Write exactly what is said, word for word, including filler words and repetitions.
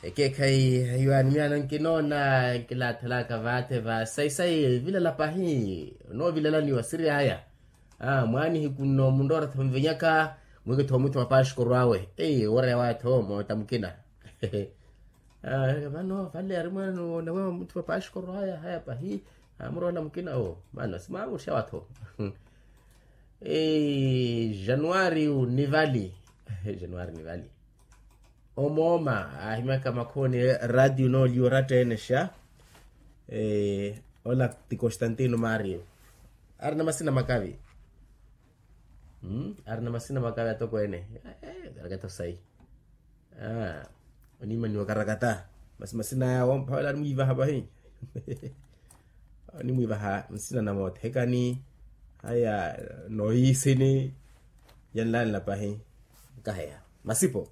Ekeekhayi, eyo animyaano nkinoona nkilaathelaka vaathe va sayi-sayi vilala pahi. Onoovilalaniwa siri aya. Mwaanihiku nno munroora tho nvenyaka, mwiikitho muthu wa paxikoro awe. Ei oreya waatho moota mukina. Vano vale ari mwaani onawewa muthu wa paxikoro aya haya pahi. Amuroola mukina owo. Mano simaamuxewa tho. Januwari nivali. Januwari nivali. Omooma aahimyaka makhooni, raatiyo nooliwa oratta ene xa. Ola ti constantino mario. Arina masina makavi. Arina masina makavi atokweene. Karakata osayi. Oniimaniwa karakata. Masi masina aya woomphavela animwiivaha vahi. Animwiivaha nsina na moothekani. Aya noohiisini. Yanlanla pahi. Nkaheya masipo.